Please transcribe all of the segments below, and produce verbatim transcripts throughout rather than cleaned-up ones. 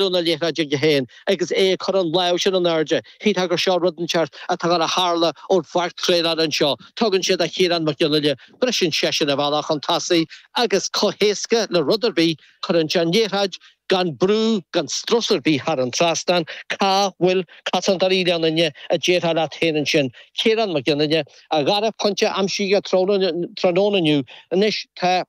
na liathróide aige féin agus é ag cur an lámh sin in airde. Shílfeá gur seo rud inteacht atá ag tarlú ón pháirc traenála anseo. Tugann sé do Chiarán Mac Fhionnghaile, briseann seisean a bhealach chun tosaigh agus chomh héasca le rud ar bith, cuireann sé an liathróid gan brú gan strus ar bith thar an trasnán, cá bhfuil cosantóirí Ghleann Fhinne a déarfá leat féin ansin. Ciarán Mac Fhionnghaile, a dhara pointe aimsithe tráthnóna inniu. Anois tá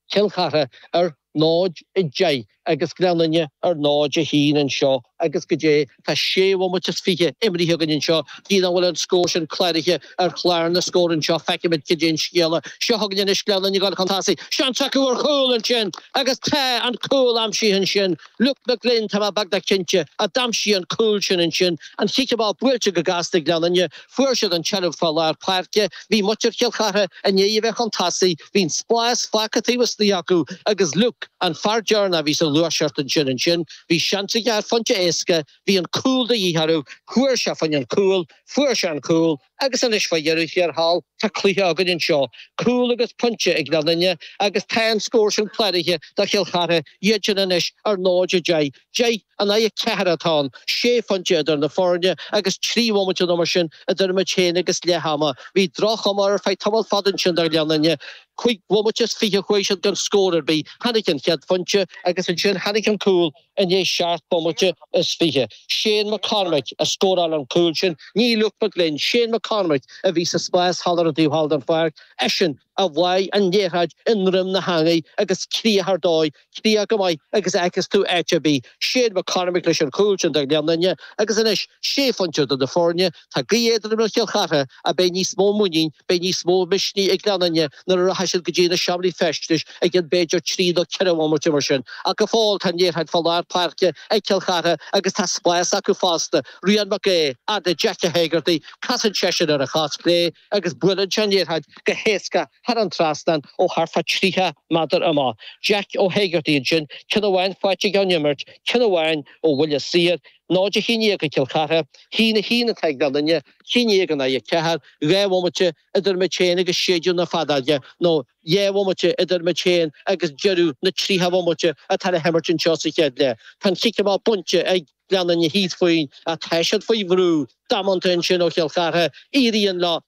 Cill Chartha ar náid a deich agus Gleann Fhinne ar náid a haon anseo agus go dté tá sé bhomaite is fiche imrithe againn anseo gidh an bhfuil an scór sin cláraithe ar chlár na scór anseo feicfimid cad é an scéala seo chugainn anois Gleann Fhinne ag dul chun tosaigh seans acu ar chúl ansin agus tá an cúl aimsithe ansin Luke McGlynn tá mé beagnach cinnte a d'aimsigh an cúl sin ansin an chic amach buailte go gasta ag Gleann Fhinne fuair siad an tseilbh fá lár páirce bhí muintir Chill Chartha i ndiaidh a bheith chun tosaigh bhí an spás fágtha taobh istigh acu agus Luke an fear deireanach a bhí sa ghluaiseacht ansin ansin, bhí seans aige ar phointe éasca, bhí an cúl de dhíth orthu, chuaigh sé fá choinne an cúl, fuair sé an cúl agus anois fá dheireadh thiar thall tá cluiche againn anseo, cúl agus pointe ag Gleann Fhinne agus tá an scór sin cláraithe do Chill Chartha, iad sin anois ar náid a deich, deich in aghaidh a ceathair atá ann, sé phointe idir na foirne agus trí bhomaite nó mar sin idir muid féin agus leath ama. Bhí droch-chuma ar feadh tamall fada ansin do Ghleann Fhinne. Cúig bhomaite is fiche chuaigh siad gan scór ar bith. Tháinig an chéad phointe agus ansin tháinig an cúl i ndiaidh seacht bomaite is fiche. Shane McCormick a scóráil an cúl sin, ní Luke McGlynn, Shane McCormick a bhí sa spás thall ar an taobh thall den pháirc, eisean a bháigh an liathróid i ndroim na heangaí agus críoch ar dóigh, críoch go maith agus a fheiceas tú áit ar bith. Shane McCormick leis an chúl sin do Ghleann Fhinne agus anois sé phointe idir na foirne, tá gaoth éadrom ar Chill Chartha ach beidh níos mó muinín, beidh níos mó misnigh ag Gleann Fhinne nuair a rachaidh siad go dtí na seomraí feistis i gcionn b'fhéidir trí nó ceithre bhomaite mar sin. Ach go fóill tá an liathróid fá lár páirce ag Cill Chartha agus tá spás acu fosta. Rian Mac Aodha, fhad le Jack Ó hÉigeartaigh, casann seisean ar a chos chlé agus buaileann sé an liathróid go héasca thar an trasnán ó thart fá tríocha méadar amach. Jack Ó hÉigeartaigh ansin, ceann amháin faighte aige ón imirt, ceann amháin ó bhuille saor, náid a haon déag ag Cill Chartha, haon a haon atá ag Gleann Fhinne, haon déag in aghaidh a ceathair, dhá bhomaite idir muid féin agus séideadh na feadóige, nó dhá bhomaite idir muid féin agus deireadh na tríocha bomaite atá le himirt anseo sa chéad leath. Tá an chic amach bainte ag Gleann Fhinne thíos fúinn ach tá siad faoi bhrú damanta ansin ó Chill Chartha, éiríonn leo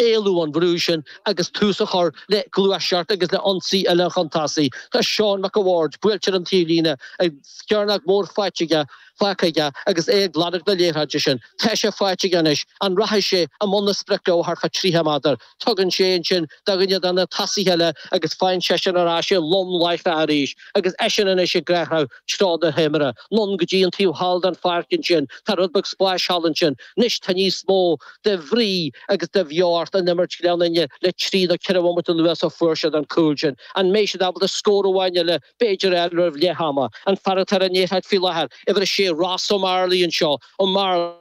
éalú ón bhrú sin agus tús a chur le gluaiseacht agus le ionsaí eile chun tosaigh. Tá Seán Mac a' Bhaird buailte ar an taobhlíne ag cearnóg mhór faighte aige faighte aige agus é ag lorg na liathróide sin. Tá sé faighte aige anois, an rachaidh sé i mbun na sprice ó thart fá tríocha méadar. Tugann sé ansin do dhuine de na tosaithe eile agus faigheann seisean ar ais é lom láithreach arís agus eisean anois ag greadadh treo na himeartha. Anonn go dtí an taobh thall den pháirc ansin. Tá rud beag spáis thall ansin. Anois tá níos mó de bhrí agus de bheocht in imirt Ghleann Fhinne le trí nó ceithre bhomaite anuas ó fuair siad an cúl sin. An mbeidh siad ábalta scór amháin eile b'fhéidir a fháil roimh leath ama? An fear atá ar an liathróid faoi láthair, uimhir a sé Ross Ó Mearlaí anseo, Ó Mearlaí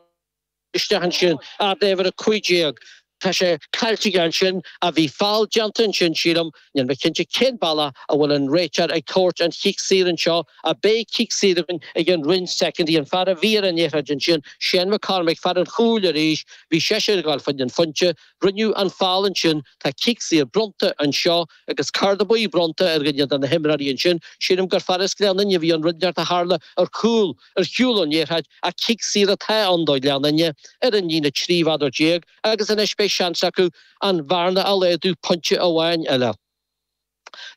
isteach ansin, fhad le uimhir a cúig déag. Tá sé caillte aige ansin ach bhí feall déanta ansin sílim, níl mé cinnte cén bealach a bhfuil an réiteoir ag tabhairt an chic saor anseo ach beidh cic saor againn ag an roinn soicind. An fear a bhí ar an liathróid ansin, Shane McCormick, fear an chúil arís, bhí seisean ag gabháil fá choinne an phointe, rinneadh an feall ansin, tá cic saor bronnta anseo agus cárta buí bronnta ar dhuine de na himreoirí ansin. Sílim gur fear as Gleann Fhinne a bhí ann rud inteacht a tharla ar chúl ar shiúl ón liathróid ach cic saor atá ann do Ghleann Fhinne ar an líne trí mhéadar déag agus anois beidh seans acu an bhearna a laghdú pointe amháin eile.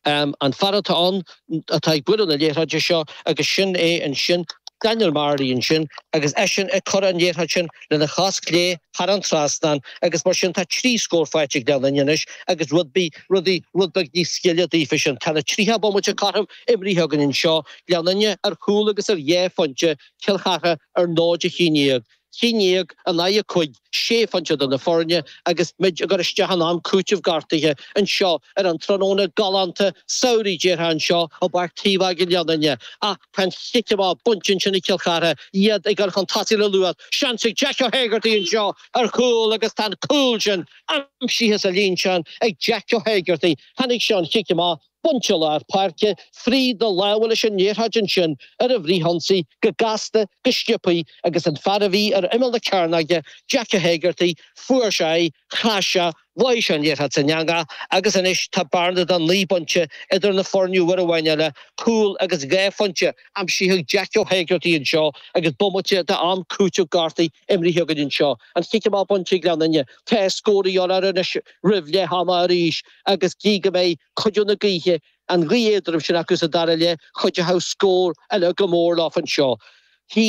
An fear atá ann atá ag bualadh na liathróide seo agus sin é ansin Daniel Marley ansin agus eisean ag cur an liathróid sin lena chos chlé thar an trasnán agus mar sin tá trí scór faighte ag Gleann Fhinne anois agus rud rudaí rud beag níos gile daofa sin. Tá na tríocha bomaite cothrom imrithe againn anseo, Gleann Fhinne ar chúl agus ar dhá phointe, Cill Chartha ar náid a haon déag. haon déag in aghaidh a cúig, sé phointe idir na foirne agus muid ag cur isteach in am cúitimh gortaithe anseo ar an tráthnóna galánta samhraidh déarfá anseo i bPáirc Taobh i nGleann Fhinne. Ach tá an chic amach bainte ansin ag Cill Chartha, iad ag dul chun tosaigh le luas. Seans ag Jack Ó hÉigeartaigh anseo ar chúl agus tá an cúl sin aimsithe sa líonteán ag Jack Ó hÉigeartaigh. Tháinig sé an chic amach bainte i lár páirce, fríd na lámha leis an liathróid ansin ar an bhfrithionsaí go gasta, go sciobtha agus an fear a bhí ar imeall na cearnóige, Jack Ó hÉigeartaigh, fuair sé í, chas sé, bhuaigh sé an liathróid san eangach agus anois tá bearna de naoi bpointe idir na foirne uair amháin eile, cúl agus dhá phointe aimsithe ag Jackie Ó hÉigeartaigh anseo agus bomaite d'am cúiteamh gortaithe imrithe againn anseo. An chic amach bainte ag Gleann Fhinne. Tá scór a dhíobháil orthu anois roimh leath ama arís agus gí go mbeidh cuidiú na gaoithe, an ghaoth éadrom sin acu sa dara leath, chuideochadh scór eile go mór leo anseo.